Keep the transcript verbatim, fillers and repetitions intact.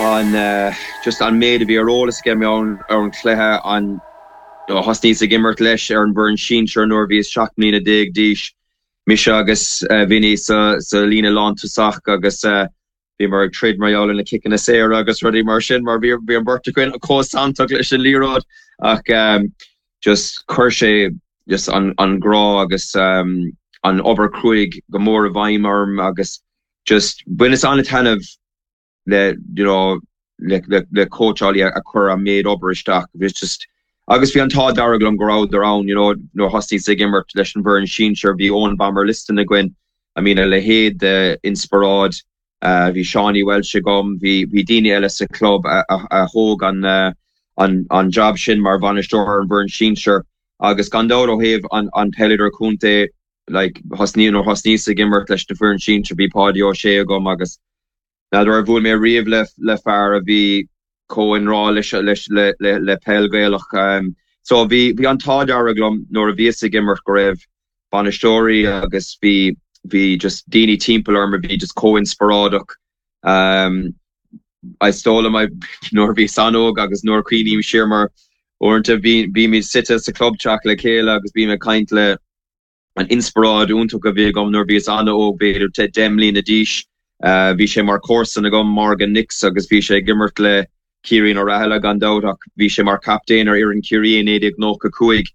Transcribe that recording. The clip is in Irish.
an uh, just an méid a bhí ar eolas aige ar ar an chluiche an thosnaíos ag imirt leis ar an bhfoireann sinsir nuair bhíos seacht mbliana déag d'aois mise agus uh, Vinny sa, sa líne lántosach agus uh, bhí mar ag troid mar gheall na ciceanna saora agus rudaí mar sin mar bhí bhí an bheirt againn chomh santach leis an liathróid ach um, just chuir sé just an, an grá agus um, an obair chruaidh go mór i bhfeidhm orm agus just bhaineas an-taitneamh le you know, le, le, le cóitseálaí a chuir an méid obair isteach bhí just agus bhí an t-ádh dearg liom go raibh ann you know, nuair thosnaíos ag imirt leis an bhfoireann sinsir bhí Eoin Bomber Liston againn I mean a leithéid de inspioráid uh, bhí Seánie Welsh agam bhí bhí daoine eile sa club a, a, a thóg an, uh, an, an job sin mar bhainisteoir an bhfoireann sinsir agus gan dabht ó thaobh an, an peileadóir contae like thosnaí nó thosnaíos ag imirt leis na foireann sinsir bhí Páidí Ó Sé agam agus N'fheadar ar bhuail mé riamh le le fear a bhí chomh i ngrá leis leis le le le peil Ghaelach um, so bhí bhí an t-ádh dearg liom nuair a bhíos ag imirt go raibh bainisteoirí agus bhí bhí just daoine timpeall orm a bhí just chomh inspioráideach um, is dóigh liom nuair bhíos an-óg agus nuair cuimhním siar mar uaireanta bhí bhí suite sa clubteach le chéile agus bhí mé caint le an inspioráid iontach a bhí agam nuair bhíos an-óg b'fhéidir deich mbliana d'aois. Uh, bhí sé mar chomharsa agam Morgan Nix agus bhí sé ag imirt le Ciarraí O'Rahilly gan dabht ach bhí sé mar captaen ar fhoireann Ciarraí naoi déag nócha cúig